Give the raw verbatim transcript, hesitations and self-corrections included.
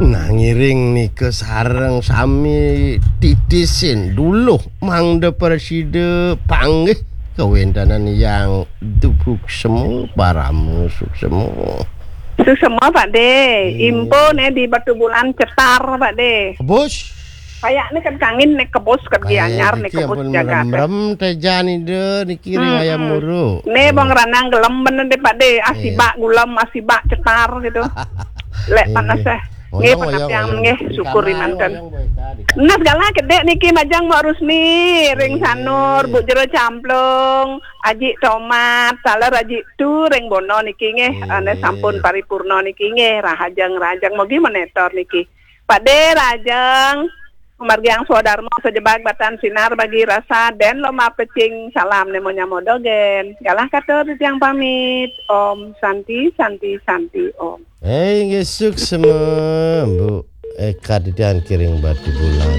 Nah, ngiring nika sareng sami titisin duluh mangda prasida panggih kawéntenan Hyang Dubuk Semu, Parama Suksema. Suksema, Pak De. Iya. Impo né di Batubulan cetar, Pak De. Kebus. Kayakné kan kangin né kebus, ké Gianyar né kebus jagat. Merem-rem téjan Ida niki ring ayam muru. Né bong ranang gelem bener deh, Pak De. Asibak gulem, asibak cetar gitu. Lek panas eh. Nggih, panapian nggih, syukur manten. Nah, segala kedek niki majeng Mak Rusmi, ring Sanur, Bu Jero Camplung, Aji Tomat, taler Aji Tu, ring Bono niki nggih, ane sampun paripurna niki nggih, rahajeng-rahajeng mogi menetor niki. Pak De rahajeng, margiang swadarma sajebag batan sinar bagi rasa, den lomah pecing, salam nemo nyamo dogen. Galah katur titiang pamit. Om Santi, Santi, Santi, Om. Eh, inggih suksema, Bu. Eka titiang kiring Batubulan.